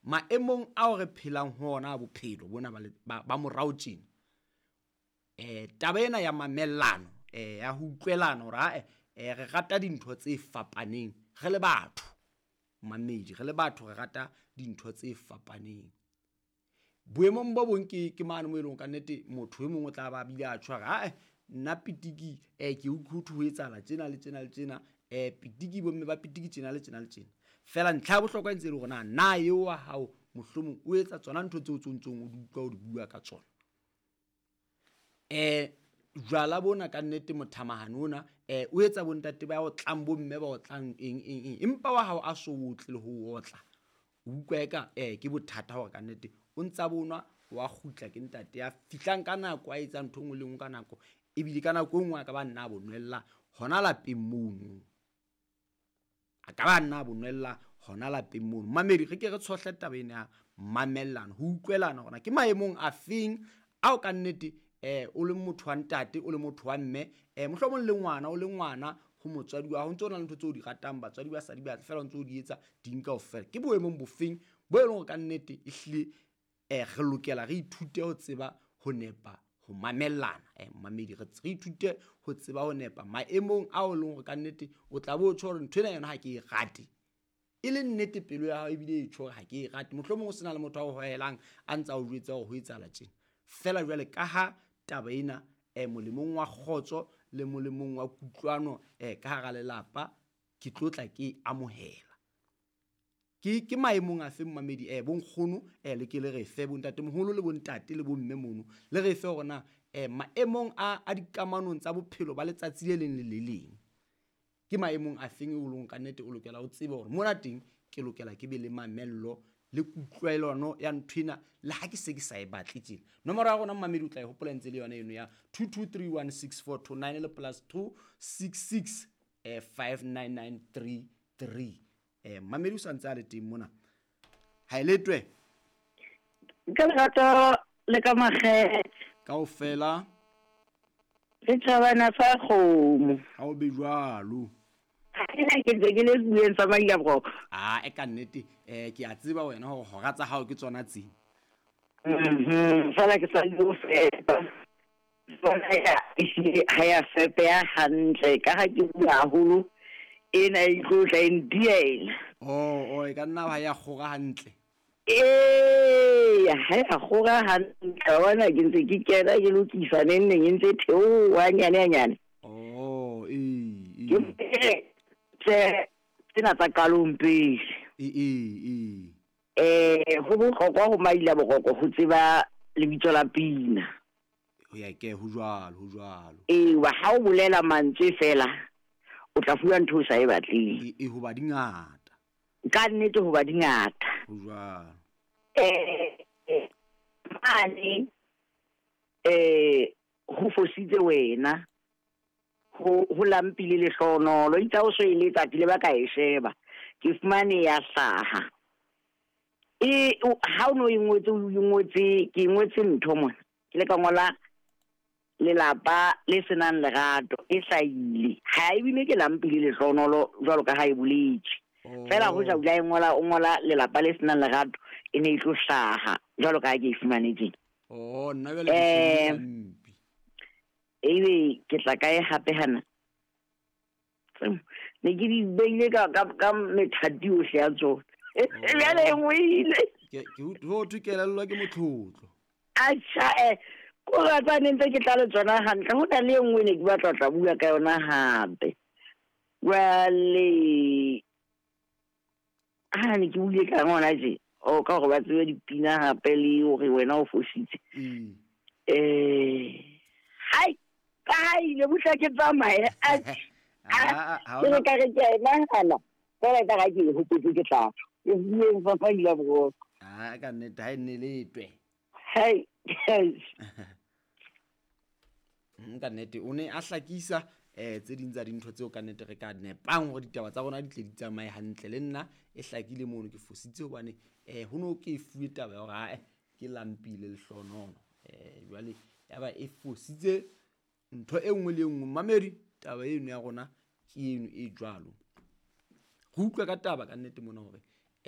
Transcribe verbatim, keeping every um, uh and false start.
Maemong ao re phelang ho ona a bophelo bona ba ba, ba morao tjena. Eh taba ena ya mamellano, eh ya ho utlwelana hore ae eh re rata dintho tse fapaneng re le batho. Mamedi re le batho re rata dintho tse fapaneng. Boemong bo bong ke ke mane mo eleng ka nnete motho e mong o tla ba bile a tjho hore ae nna pitiki eh ke utlwe ho etsahala tjena le tjena le tjena, eh pitiki bomme ba pitiki tjena le tjena le tjena. Fela ntlha ya bohlokwa e ntse e le hore na na eo wa hao mohlomong o etsa tsona ntho tseo tse ntsong o di utlwa o di bua ka tsona. Eh jwala bona ka nnete mothamahane ona eh o etsa bontate ba o tlang bomme ba o tlang eng eng eng, empa wa hao a so otle le ho otla. O utlwa eka eh ke bothata hore ka nnete o ntsa bonwa wa kgutla ke ntate ya fihlang ka nako a etsa ntho e nngwe le nngwe ka nako, ebile ka nako e nngwe a ka ba nna a bonwella hona lapeng mono. A ka ba nna a bonwella hona lapeng mono. Mamedi re ke re tshohle taba ena ya mamellano, ho utlwelana hore ke maemong a feng ao ka nnete eh o le motho wa ntate, o le motho wa mme, eh mohlomong le ngwana, o le ngwana ho motswadi wa hao, o ntso na le ntho tseo di ratang, batswadi ba sa di batle fela o ntso di etsa ding kaofela. Ke boemong bofeng bo e leng hore ka nnete ehlile eh re lokela re ithute ho tseba ho nepa ho mamellana. Eh mamedi re re ithute ho tseba ho nepa maemong ao e leng hore ka nnete o tla bo tjho hore ntho ena yona ha ke e rate. E le nnete pelo ya hao ebile e tjho hore ha ke e rate. Mohlomong o sena le motho a o hohelang a ntsa o jwetsa hore ho etsahala tjena. Fela jwale ka ha taba ena eh molemong wa kgotso le molemong wa kutlwano eh ka hara lelapa ke tlo tla ke amohela. Ke ke maemong a feng mamedi eh bonkgono eh le ke le re fe bontate moholo le bontate le bomme mono le re fe hore na eh maemong a a dikamanong tsa bophelo ba letsatsi le leng le le leng ke maemong a feng o leng ka nnete o lokela o tsebe hore mona teng ke lokela ke be le mamello le kutlwelano ya nthwena le ha ke se ke sa e batle tjena. Nomoro ya rona mamedi o tla e hopola ntse le yona eno ya two two three one six four two nine le plus two six six eh five nine nine three three. Eh mamedi o santse a le teng mona. Ha e letwe ka lerato le ka makgethe kaofela le tjhabana sa kgomo. Ha o be jwalo. Ke ntse ke le bueng sa Maila-Boroko. Ah e ka nnete eh ke a tseba wena hore hora tsa hao ke tsona tse. Mhm fela ke sa lo fepa. Tsona ya ehlile ha ya fepeha hantle ka ha ke bua haholo ena e tlo tla e ndiela. Oh oh e ka nna ha ya kgora hantle. Eh ha ya kgora hantle wa bona ke ntse ke kena ke lokisa neng neng e ntse theoha nyane nyane. Oh eh eh. Ke tsena tsa qalong pele. Eh eh eh. Eh ho bohlokwa ho Maila-Boroko ho tseba lebitso la pina. Ho ya ke ho jwalo ho jwalo. Eh wa ha o bolela mantswe fela o tla fuwa ntho o sa e batleng. E e hoba di ngata. Ka nnete hoba di ngata. Ho jwalo. Eh mane eh ho fositse wena. Ho ho lampile lehlonolo itse o so eletsa ke le ba ka e sheba ke fumane ya hlaha e ha o no e ngotse o ngotse ke ngotse ntho mona ke le ka ngola lelapa le senang lerato e hlahile ha e bile ke lampile lehlonolo jwalo ka ha e boletse fela ho ja o la ngola o ngola lelapa le senang lerato e ne e tlo hlaha jwalo ka ha ke e fumane tjena. Oh nna jwale ke lampi ebe ke tla kae hape hana ne ke di beile ka ka ka methati ohle ya tsona jwale e nngwe ile ke ke ho thwe kelellwa ke motlotlo. Atjha eh ko ratsa ne ntse ke tla le tsona hantle ho na le e nngwe ne ke batla tla bua ka yona hape jwale ha ne ke buile ka ngwana tje o ka hore ba tsebe dipina hape le hore wena o fositse eh hai ka ile butla ke tsamaye a ke ka re ke a nahana fela ka ga ke hopotse ke tla ke bueng fa fa ile boroko. Ah ka nnete ha e nne letwe. Hai ka nnete o ne a hlakisa eh tse ding tsa dintho tseo ka nnete re ka nepang hore ditaba tsa rona di tle di tsamaye hantle le nna e hlakile mono ke fositse hobane eh ho no ke fuwe taba ya hore ha ke lampile lehlonono eh jwale ya ba e fositse ntho e nngwe le e nngwe. Mamedi taba eno ya rona ke eno e jwalo. Re utlwa ka taba ka nnete mona hore